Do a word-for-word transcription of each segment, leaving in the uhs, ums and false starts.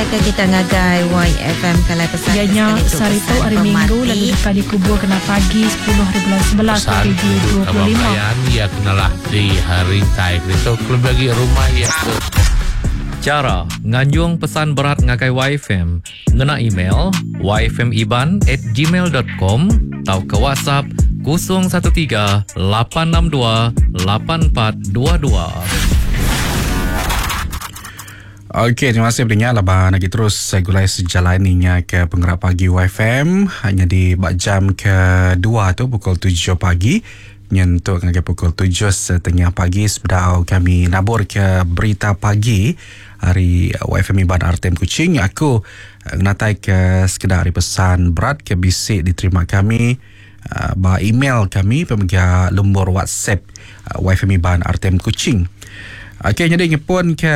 Datai ke kita ngagai Y F M kalai pesan Ya nya sehari tu hari Minggu lalu deka dikubur kena pagi sepuluh hari bulan sebelas Pesan dua ribu dua puluh lima. Ia kenalah di hari tai itu lebih lagi rumah ia ke Cara nganjung pesan berat ngagai Y F M ngena email y f m iban at gmail dot com atau ke WhatsApp kosong satu tiga lapan enam dua lapan empat dua dua. Okey, terima kasih pendengar laban lagi terus saya gulai sejalan ni ke penggerak pagi Y F M hanya di bak jam kedua tu pukul tujuh pagi nyentuk ke pukul tujuh setengah pagi sebedau kami nabur ke berita pagi hari Y F M Iban R T M Kuching. Aku ngatai ke sekedar hari pesan berat ke bisik diterima kami uh, ba email kami pemegang nombor WhatsApp uh, Y F M Iban R T M Kuching. Okey, jadi ngepun ke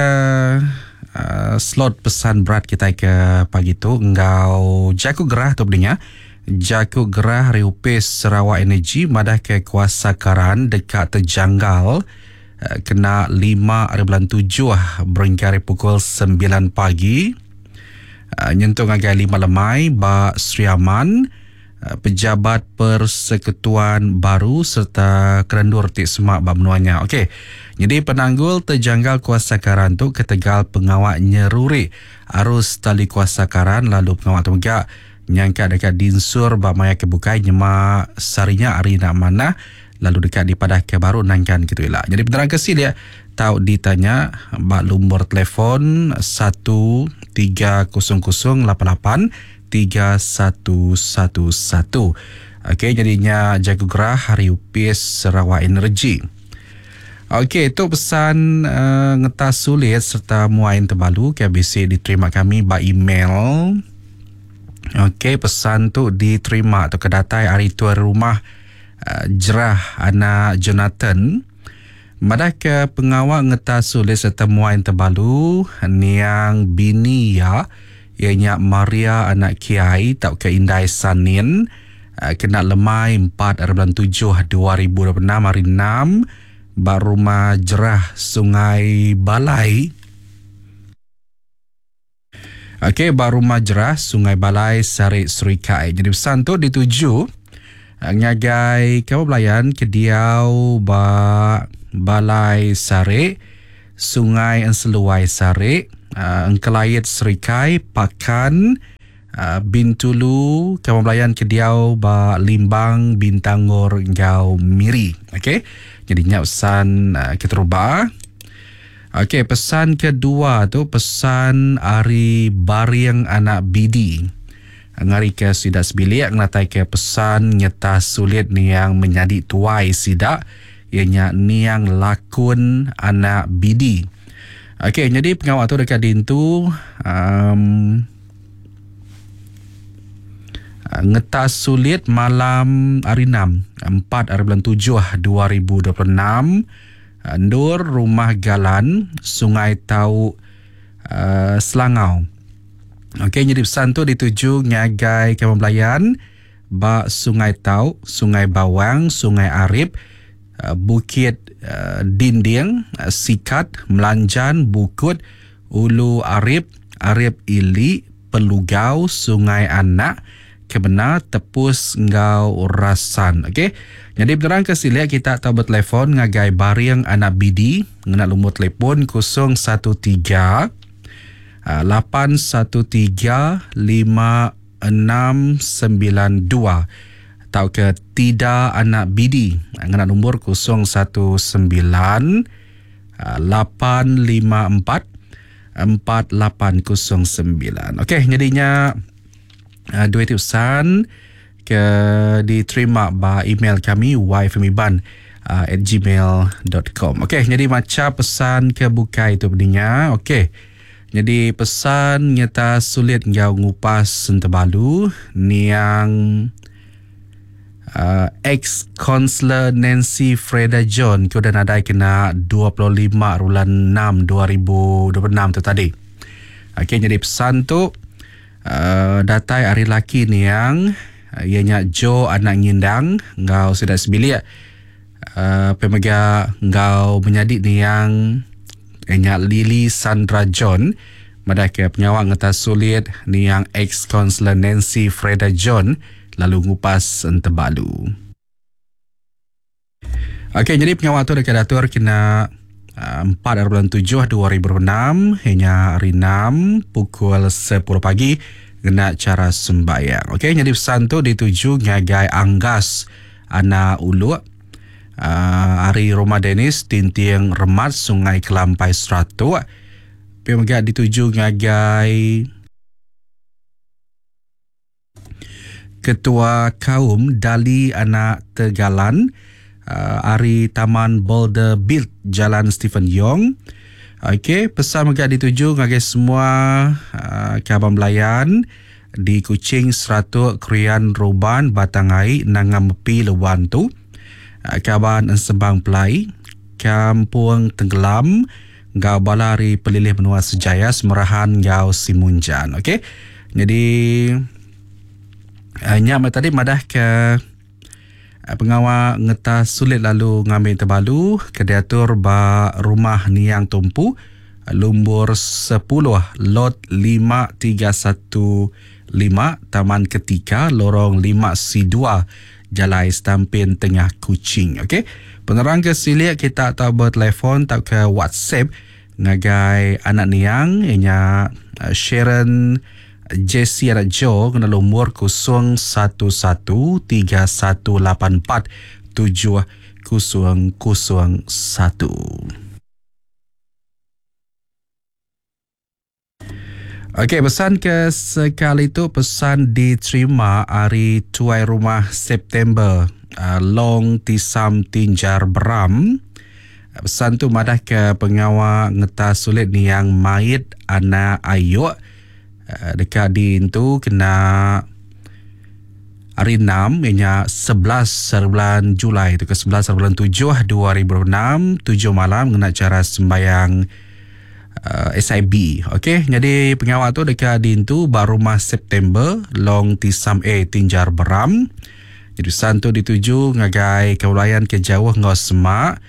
uh, slot pesan berat kita ke pagi tu ngau jaku gerah tu belinya. Jaku gerah Riupis Sarawak Energy madah ke kuasa karan dekat terjanggal kena lima hari bulan tujuh berengkari pukul sembilan pagi nyentuh ngagai lima lemai ba Sri Aman pejabat persekutuan baru serta kerendur ti semak ba menuanya. Okey. Jadi penanggul terjanggal kuasa karan tu ketegal pengawak nyeruri arus tali kuasa karan lalu pengawak tu juga nyangka dekat dinsur ba maya kebukai nyema sarinya hari nak mana lalu dekat di padah ke baru nangkan gitu lah. Jadi penerang kesi dia tahu ditanya ba lumur telefon satu tiga kosong kosong lapan lapan tiga satu satu satu. Okey, jadinya jago gerah hari upis Sarawak Energy. Okey, itu pesan uh, ngetas sulit serta muain terbalu ke B C diterima kami ba email. Okey, pesan tu diterima atau kedatai hari tuan rumah uh, Jerah anak Jonathan. Madah ke pengawal ngetas sulit serta muain terbalu niang bini ya ianya Maria anak Kiai tau ke Indai Sanin uh, kena lemai empat hari bulan tujuh dua ribu dua puluh enam hari enam ba rumah Jerah Sungai Balai. Okey, ba rumah Jerah Sungai Balai Sarik Serikai. Jadi pesan tu dituju ngagai kamu belayan ke diau ba Balai Sarik Sungai Enseluai Sarik uh, Engkelait Serikai Pakan uh, Bintulu kamu belayan ke diau ba Limbang Bintangor Ngau Miri. Okey. Jadi nyak pesan uh, keteruba. Okey, pesan kedua tu pesan ari Baring anak Bidi. Ngari ke sidak sebilik ngatai ke pesan nyata sulit niang menyadi tuai sidak ianya niang lakun anak Bidi. Okey, jadi pengawal tu dekat dintu um, ngetas sulit malam hari enam empat hari bulan tujuh dua ribu dua puluh enam Ndur Rumah Galan Sungai Tau uh, Selangau. Okey, jadi pesan tu dituju ngagai kamu belayan ba Sungai Tau, Sungai Bawang, Sungai Arip, uh, Bukit uh, Dinding, uh, Sikat, Melanjan, Bukut, Ulu Arip, Arip Ili, Pelugau, Sungai Anak, Kebena, Tepus, Ngau, Rasan. Okey. Jadi penerang ke sini kita tahu bertelefon ngagai Baring anak Bidi ngena lumur telefon kosong satu tiga lapan satu tiga lima enam sembilan dua atau ke Tida anak Bidi ngena nombor kosong satu sembilan lapan lima empat empat lapan kosong sembilan. Okey, jadinya uh, dua pesan ke diterima ba email kami y f m iban at gmail dot com. Okey, jadi macam pesan ke bukai itu pendengar. Okey. Jadi pesan nyata sulit ngau ngupas sentebalu niang uh, ex-konselor Nancy Freda John ke udah nadai kena dua puluh lima bulan enam dua ribu dua puluh enam tu tadi. Okey, jadi pesan tu uh, datai hari laki niang ianya Joe anak Ngindang ngau sidak sebilik uh, pemega ngau menyadik niang ianya Lily Sandra John Madah ke pengawa ngetas sulit niang ex-konselor Nancy Freda John lalu ngupas entebalu. Okey, jadi pengawa tu dekat datur kena empat bulan tujuh dua ribu enam hingga hari enam pukul sepuluh pagi kena cara sembahyang. Okey, jadi pesan tu dituju ngagai Anggas Anak Uluk, uh, hari Rumah Dennis Tinting Remat Sungai Kelampai Seratuk. Pia mega dituju ngagai Ketua Kaum Dali Anak Tegalan, Uh, ari Taman Boulder Build Jalan Stephen Yong. Okey, pesan mega dituju ngagai semua uh, kaban belayan di Kuching, Seratuk, Krian, Ruban, Batangai, Nangam Mepi, Lewan tu. Uh, kaban Ensebang Pelai, Kampung Tenggelam, ngau bala ari Pelilih Menua Sejaya, Semerahan, ngau Simunjan. Okey. Jadi uh, nyak tadi madah ke pengawa ngetas sulit lalu ngambil terbalu ke diatur ba rumah Niang Tumpu lumbur sepuluh lot lima tiga satu lima Taman Ketika Lorong lima C dua Jalai Stampin Tengah Kuching. Okey, penerang ke silik kita tahu bertelefon atau ke WhatsApp ngagai anak Niang ianya Sharon Jesse anak Joe kena lumur kosong satu satu tiga satu lapan empat tujuh kosong kosong satu. Okey, pesan ke sekali tu pesan diterima hari tuai rumah September uh, Long Tisam Tinjar Beram. Pesan tu madah ke pengawa ngetas sulit niang mait anak ayuk dekat di itu kena hari enam ianya sebelas bulan Julai itu ke sebelas bulan tujuh dua ribu enam tujuh malam kena cara sembahyang uh, S I B. Okey, jadi pengawal tu dekat di itu baru rumah September Long Tisam A Tinjar Beram. Jadi pesan tu dituju ngagai keulayan ke jauh ngau semak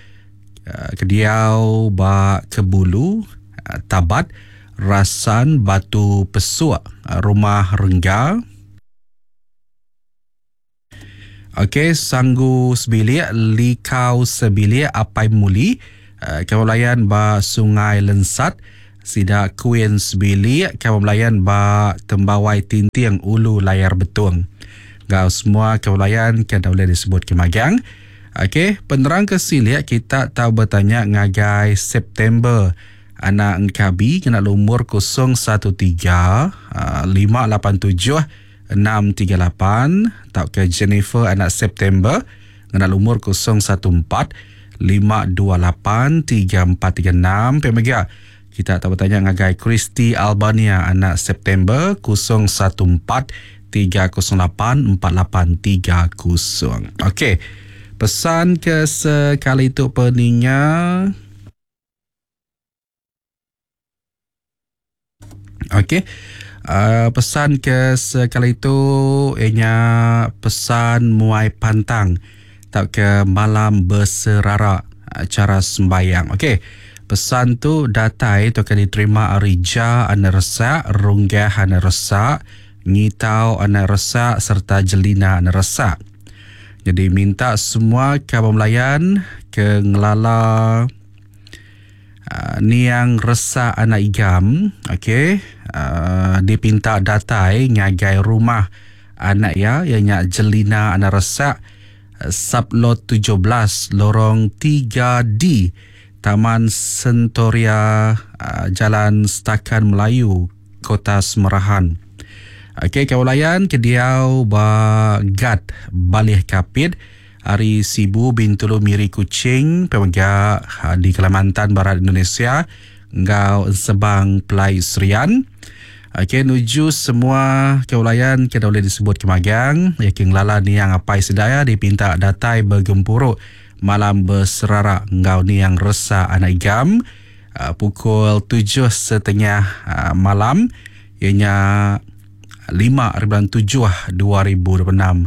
uh, kediau ba Kebulu uh, Tabat Rasan Batu Pesuk Rumah Rengga. Okey, Sanggu Sebilik, Likau Sebilik, Apai Muli, Kawalan ba Sungai Lensat, Sida Queen Sebilik, Kawalan ba Tembawai Tinting Ulu Layar Betung. Gau semua kawalan kan boleh disebut kemagang. Okey, penerang ke silik kita tahu bertanya ngagai September anak Engkabi kena lumur kosong satu tiga lima lapan tujuh enam tiga lapan atau ke Jennifer anak September kena lumur kosong satu empat lima dua lapan tiga empat tiga enam. P M G kita tak bertanya ngagai Christy Albania anak September kosong satu empat tiga kosong lapan empat lapan tiga kosong. Okey, pesan ke sekali itu peninga. Okey, uh, pesan ke sekali itu ianya pesan muai pantang tak ke malam berserara acara sembahyang. Okey, pesan tu datai tu akan diterima Arija anak resak, Runggah anak resak, Ngitau anak resak serta Jelina anak resak. Jadi minta semua kawan melayan ke ngelala Uh, niang resak anak igam, okey, uh, dipinta datai ngagai rumah anak ya ianya Jelina anak resak, sublot tujuh belas lorong tiga D Taman Sentoria, uh, Jalan Stakan Melayu, Kota Semerahan. Okey, kaulayan kediau ba Gat Balih Kapit Hari Sibu Bintulu Miri Kuching pemega di Kalimantan Barat Indonesia ngau Sebang Pelai Serian. Okey, nuju semua keulayan kita boleh disebut kemagang ya king lala niang apai sedaya dipinta datai bergempuruk malam berserarak ngau niang resa anak igam uh, pukul tujuh setengah uh, malam ianya lima bulan tujuh dua ribu dua puluh enam.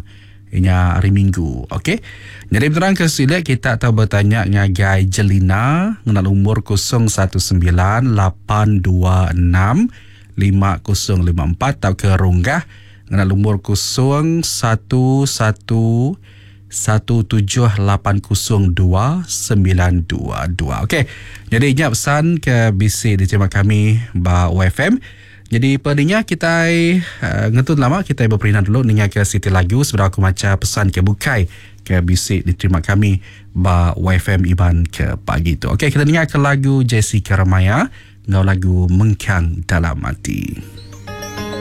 Inya hari Minggu. Okey. Jadi berterang ke silik kita tahu bertanya ngagai Jelina ngena umur kosong satu sembilan lapan dua enam lima kosong lima empat atau ke Runggah ngena umur kosong satu satu satu tujuh lapan kosong dua sembilan dua dua. Okey. Jadi ingat pesan ke B C diterima kami ba Y F M. Jadi perninya kita, uh, ngetun lama kita berperinan dulu ninga ke Siti Lagu sebelum aku baca pesan ke bukai ke B C diterima kami ba Y F M Iban ke pagi tu. Okey, kita dengar ke lagu Jessica Ramaya ngau lagu Mengkang Dalam Hati.